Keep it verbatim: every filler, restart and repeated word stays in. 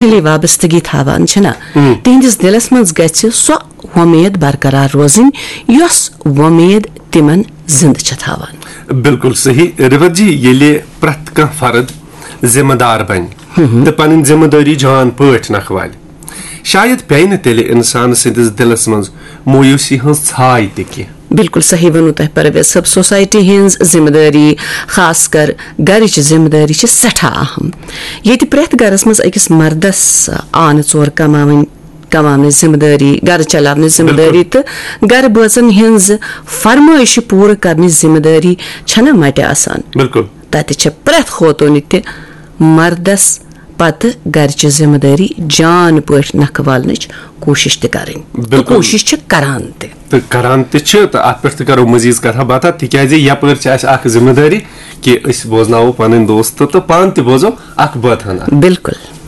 Finally وابستگی تھاوان چھِنہ، تِہنٛدِس دِلس منٛز گژھِ سۄ وۄمید برقرار روزٕنۍ، یۄس وۄمید تِمن زندٕ چھِ تھاوان۔ بالکل صحیح۔ رِوَت جی، ییٚلہِ پرٛٮ۪تھ کانٛہہ فرد ذمہٕ دار بنہِ تہٕ پنٕنۍ ذمہٕ دٲری جان پٲٹھۍ نکھوالہِ، شاید پیٚیہِ نہٕ تیٚلہِ انسان سٕنٛدِس دِلس منٛز مویوٗسی ہٕنٛز ژھاے تہِ کینٛہہ۔ بالکل صحیح ووٚنوٕ تۄہہِ پرویز صٲب، سوسایٹی ہٕنٛز ذمہٕ دٲری، خاص کر گرٕچ ذمہٕ دٲری چھِ سٮ۪ٹھاہ اہم۔ ییٚتہِ پرٛٮ۪تھ گرس منٛز أکِس مردس آنہٕ ژور کماوٕنۍ، کماونٕچ ذمہٕ دٲری، گرٕ چلاونٕچ ذمہٕ دٲری تہٕ گرٕ بٲژن ہٕنٛز فرمٲیشہِ پوٗرٕ کرنٕچ ذمہٕ دٲری چھنہ مٹہِ آسان۔ بالکل۔ تتہِ چھِ پرٛٮ۪تھ خوتوٗنہِ تہِ مردس پتہٕ گرچہِ ذمہٕ دٲری جان پٲٹھۍ نکھٕ والنٕچ کوٗشش تہِ کرٕنۍ تہٕ بالکل۔ کوٗشش چھِ کران تہِ۔ تہٕ کران تہِ چھِ، تہٕ اتھ پٮ۪ٹھ تہِ کرو مزید کتھا باتھا، تِکیازِ یپٲرۍ چھِ اسہِ اکھ ذمہٕ دٲری کہِ أسۍ بوزناوو پنٕنۍ دوست تہٕ پانہٕ تہِ بوزو اکھ بٲتھ ہنا۔ بالکل۔